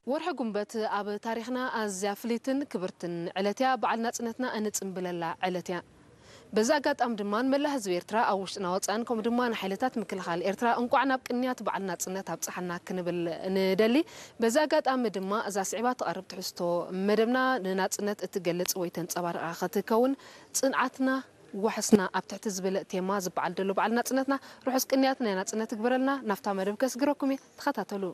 ወርሒ ጉንበት ኣብ ታሪኽና ኣዝያ ፍልይትን ክብርትን ዕለት እያ። በዓል ናጽነትና እንጽንብለላ ዕለት እያ። በዚ ኣጋጣሚ ድማ ንመላእ ህዝቢ ኤርትራ ኣብ ውሽጥና ወጻእን ከምኡ ድማ ንሓይልታት ምክልኻል ኤርትራ እንቋዕ ናብ ቅንያት በዓል ናጽነት ኣብጽሓና ክንብል ንደሊ። በዚ ኣጋጣሚ ድማ እዛ ስዒባ ትቐርብ ትሕዝቶ መደብና ንናጽነት እትገልጽ ወይ ተንጸባርቓ ክትከውን ጽንዓትና ዋሕስና ኣብ ትሕቲ ዝብል ቴማ ዝበዓል ዘሎ በዓል ናጽነትና ርሑስ ቅንያት ናይ ናጽነት ይግበረልና። ናብታ መደብ ከስግረኩም እየ፣ ተኸታተሉ።